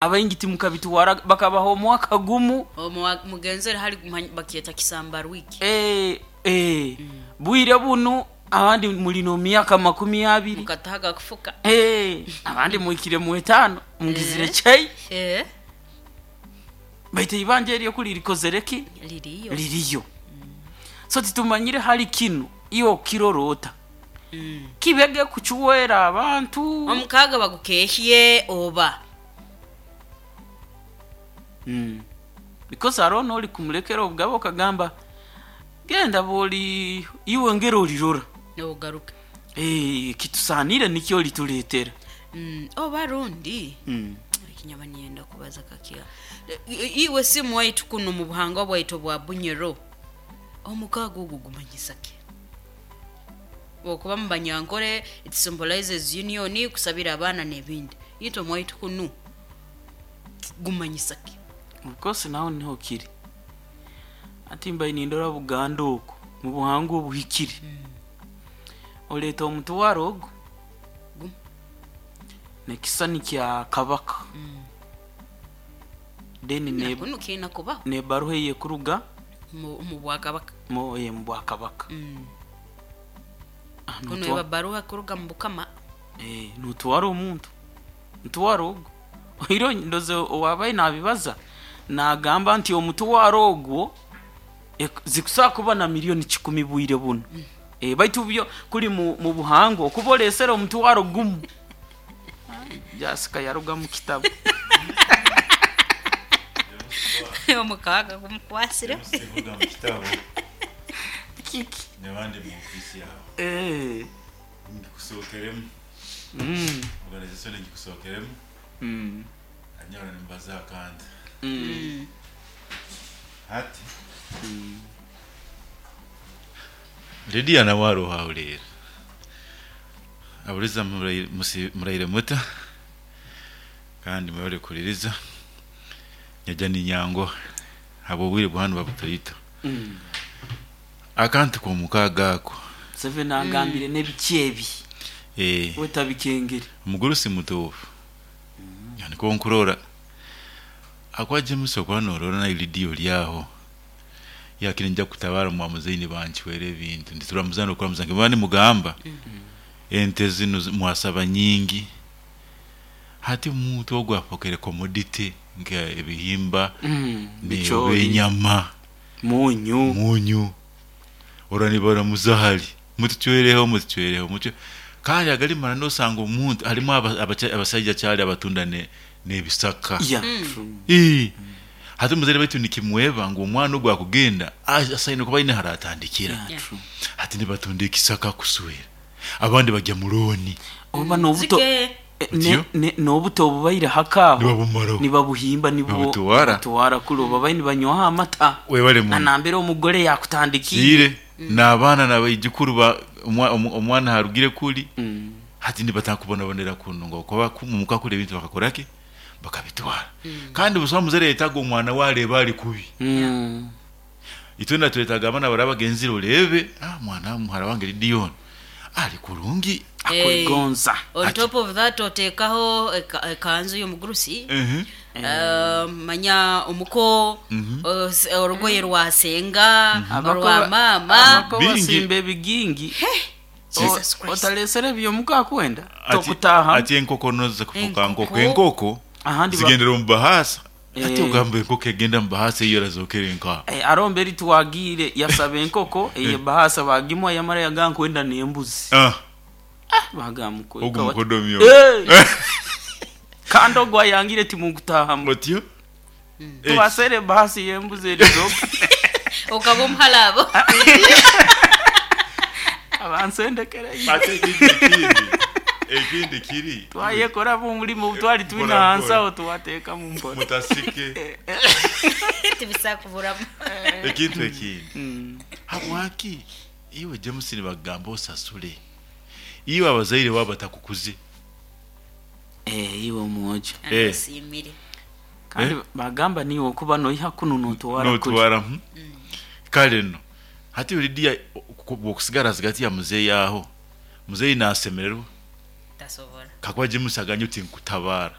Abaingi timukabitwara bakabaha omwaka gumu. Mugenzere hali bakyeta kisambarwiki. Eh, eh, bwire bunu abandi muli n'omyaka 20. Mukatahaga kufuka. Eh, abandi muhikire mu etaano mugizire chei. Baitu eibanja eryo kuri rikozere ki? Liriyo. Liriyo. So titumanyire hali kinu iwe okirora ota? Kibege kukiwera abantu. Omukaaga bagukehye oba? Because hariho n'ori kumulekera obugabe okagamba genda bwori iwe ngera orirora. Ogaruke. Eh, kitusaanire nikyo oritureetera. Oba rundi ekinyaba niinyenda kubaza kakiha. Iwe simu waitu kunu omu buhangwa bwaitu obwa Bunyoro, omukaaga ogu gumanyisa ki? Okuba omu Banyankore it symbolizes union, kusabira abaana n'ebindi. Itwe omu waitu kunu gumanyisa ki? Of course naho niho kiri. Hati mbaire nindora Buganda oku mu buhangwa obuhikire. Oreeta omutwaro ogu n'ekishushani kya Kabaka. Then Na kunu kiine kubaho. n'ebaruha ey'ekuruga Omu bwakabaka. Omu bwakabaka. Kunu eba baruha kuruga mu bukama. Notwara omuntu, mutwaro ogwo. Oihireho ndoza owaabaire naabibaza naagamba nti omutwaro ogwo zikusobola kuba na milioni kikumi bwire bunu. Baitu byo kuri mu buhangwa okuba oreesere omutwaro gumu. Jasika yaruga mu kitabo. Omukaaga gumukwasire. James kuruga mu kitabo. Kiki? Nyowe ndi mu ofiisi yawe. Ngikusokeremu. Organization ngikusokeremu. Hanyaro nimbaza aha kantu. Hati Lydia nawe ariho ahuriire. Aburiza muraire muta kandi mwebare kuhuririza. Nyaija ninyanguha ahabw'obwire bwa hanu buba butaito. Akantu k'omukaaga ako. Museveni agambire n'ebiki ebi we tabikengire. Omugurusi mutuufu nikwo nkurora. Ahakuba James okuba norora na Lydia ori aho, yakire nija kukutabara mwa muzeyi nibancwera ebintu. Nituramuza nokuramuza nkaba nimugamba ente zinu mwasaba nyingi hati omuntu ogu afokere commodity nka ebihimba Bicoori. enyama Munyu. Munyu. Orora nibaramuza hali mutucwereho mutucwereho mutucwe kandi agarimara nosanga omuntu harimu abasaija kyari abatunda nebisaka. Yeah, true. Ii. Hati omuzaire baitu nikimweba ngu omwana ogu akugenda asaine kuba aine haratandikira. Yeah, true. Hati nibatunda ekisaka kuswera abandi bagya mu looni. Oba nobuto Zike. Otyo? N'obuto obubaire hake aho Nibabumaraho. nibabuhimba nibwo Nibabutwara. butwara kuri obu babaire nibanywaho amata. Webale muno. Na nambere omugore yakutandikiire. Kiire n'abaana na baijukuru ba omwana aharugire kuri hati nibatandika kubonabonera kunu ngu ahakuba omuka kuri ebintu bakakora ki? Bakabitwara. Kandi busaho omuzaire ayetaaga omwana we areebe ari kubi. Itwena twetaaga abaana baraba bagenzire oreebe mwana muhara wange Lidion ari kurungi. Akwegonza. On Ati. top of that oteekaho ekanzu y'omugurusi, manya omuko, orugoye rwa senga, orwa maama. Abako Bingi. basimba ebigingi. Jesus Christ. Otareesire eby'omuka akwenda Ati tokutaahamu. ati enkoko noza kufuka Enkoko. nkoko. Enkoko Ahandi ba- zigendera omu bahaasa. Hati Eh. ogamba enkoko egenda omu bahaasa eyo erazookera nkaha? Hariho mberi twagiire yasaba enkoko eye bahaasa bagimuha yamara yagamba nkwenda n'embuzi. Ah. Bagamba Ogu mukodomi ogu. Kandi ogu ayangire timunkutaahamu. Otyo? Tubaseere ebahaasa ey'embuzi erizooka. Okaba omuhara abo. Abansendekereire. Ate ekindi ekindi ekindi kiri Twayekoramu omurimo obu twari twine Mpora ahansi mpora. aho twateekamu mpora. Mutasike. Tibisakuburamu. Ekintu ekindi. Habwaki iwe James nibakugamba osasule iwe abazaire babo batakukuze? Iwe omwojo. Anasiimire. Kandi bagamba niiwe okuba noiha kunu notwara kuri. Notwara. Kare no. Hati Lydia bw'okusigara ahagati ya muzeeyi aho, muzeeyi naasemererwa. Tasobola. Kakuba James agambye oti nkutabaara.